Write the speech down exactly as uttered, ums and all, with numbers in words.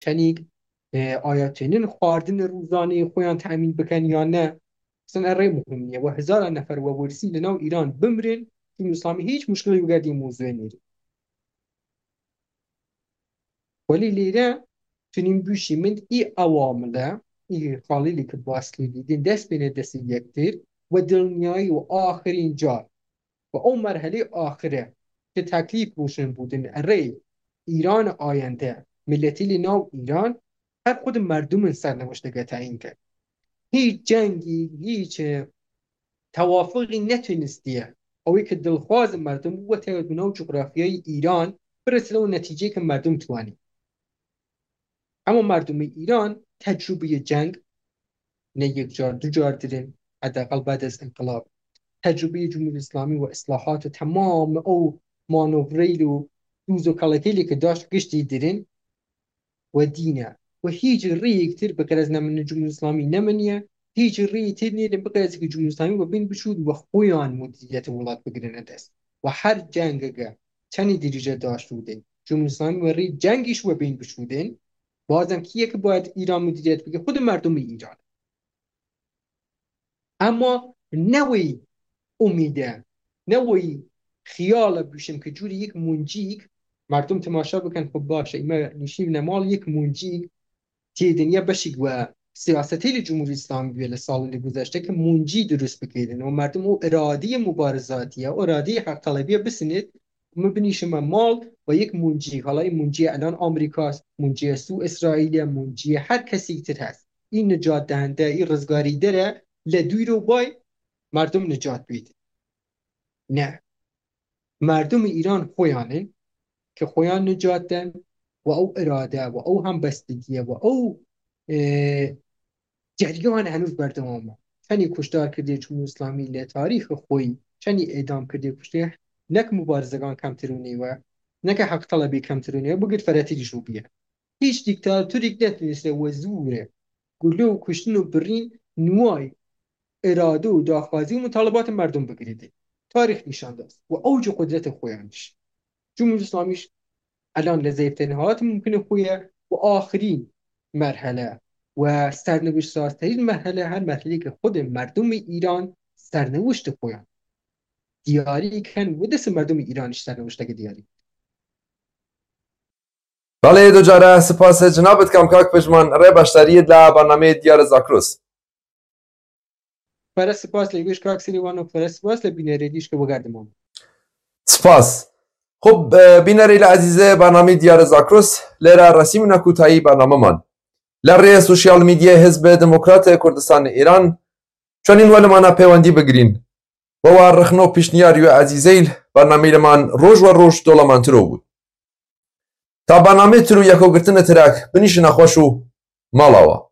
Çenîk e, aya tênin xwarin rûzanê xwe yan temîn bikin yan ne? Sen erê muhim niye. We hezara nefer we wersî li nav Îran bimrin, Cumhurî Îslamî hiç muşkilê wigerdî mozûyê nêrî. Welî lêre tunîn bûşî min î ewamile, î xalîlî ki baskî dîdin, dest bêne destê yektir, we dilniyayî û axirîn car, we ew merhelê axire, ki teklîf rûşin bûdin, erê Îran ayende, milletî li nav Îran, her xwe di merdumin sernewiştege teyîn kir. Hîç cengî, hîç, e, tewafixî netunistiye. Ew ê ki dilxwazin merdum û tewet bi nav cografyayê Îran, biresine û netîceyê ki merdum twanî. Ema merdumê Îran tecrûbeyê ceng ne yek car, du car dirin, hedeqal bed ez inqilab. Tecrûbeyê Cumhurî Îslamî û islahat û temam ew manovreyl û dûz û kelekêlê ki daşt giştî dirin we dîne. We hîç rêyek tir bi qerez ne min Cumhurî Îslamî ne min ye, hîç rêyê tir nêrin bi qerez ki Cumhurî Îslamî we bên biçû we xwe yan mudîriyetê welat bigirine dest. We her cengeke çenî dirîje daşt û din. Cumhurî Îslamî we rê cengî ji we bên biçû din. Bazem kî yek bayet Îran mudîriyet bike, xwe di merdumê Îran. Ema ne wê umîde, ne wê xiyale bûşim ki cûrî yek muncîk, merdum temaşa bikin, xwe baş e, me nişîvne mal yek muncîk têdin ya beşîk we siyasetê li Cumhurî Îslamî bûye li salên li guzeşte ki muncî dirust bikêdin. O merdum o iradeyê mubarizatî ye, o iradeyê heqtelebiye bisinit, min binîşime mal we yek muncî, halayî munciyê elan Amerîka, munciyê Sû Îsraîlê, munciyê her kesîk tir hest. Î nicat dehende, î rizgarî dere le dûr û bay merdum nicat bît. Ne. Merdumê Îran xwe yan in ki xwe yan nicat den we ew irade, we ew hembestigiye, we ew, e, ceryan henûz berdewam e. Çenî kuşdar kirdiye Cumhurî Îslamî li tarîxê xwe yî, çenî êdam kirdiye kuştiye, nek mubarizegan kemtir û nêwe, neke heqtelebî kemtir û nêwe, bigir feretî jî bûye. Hîç dîktatorîk netuniste we zûre gule û kuştin û birîn niway irade û daxwazî û mitalibatên merdum bigirî dê. Tarîx nîşan da. Û ew jî qudretê xwe yan diş. Cumhurî Îslamî jî elan li zêfterin hat mumkinê xwe ye û axirîn merhele we sernewişt sazterîn merhele her merhelê ki xwedê merdumê Îran sernewiştê xwe yan diyarî ken û destê merdumê Îran jî sernewişteke diyarî. Belê, du care spas cinabitkam kak Pejman, rê başdariyê la bernameyê Diyar Zakrus. Pere spas lê gêş kak Sirîwan û pere spas lê bînerê dîş ke wegerdiman. Spas. Xub, e, bînerê lê ezîzê bernameyê Diyar Zakrus, lê re resîmîne kûtayî bernameman. Lê rê sosyal medyayê Hizbê Demokratê Kurdistan Îran, çonîn we li mana peywendî bigirîn. We wa rixno pişniyar û ezîzeyl bernameyê li man roj we roj dolamantiro bû. Ta bernameyê tir û yekogirtinê tirek binîşine xweş û mala we.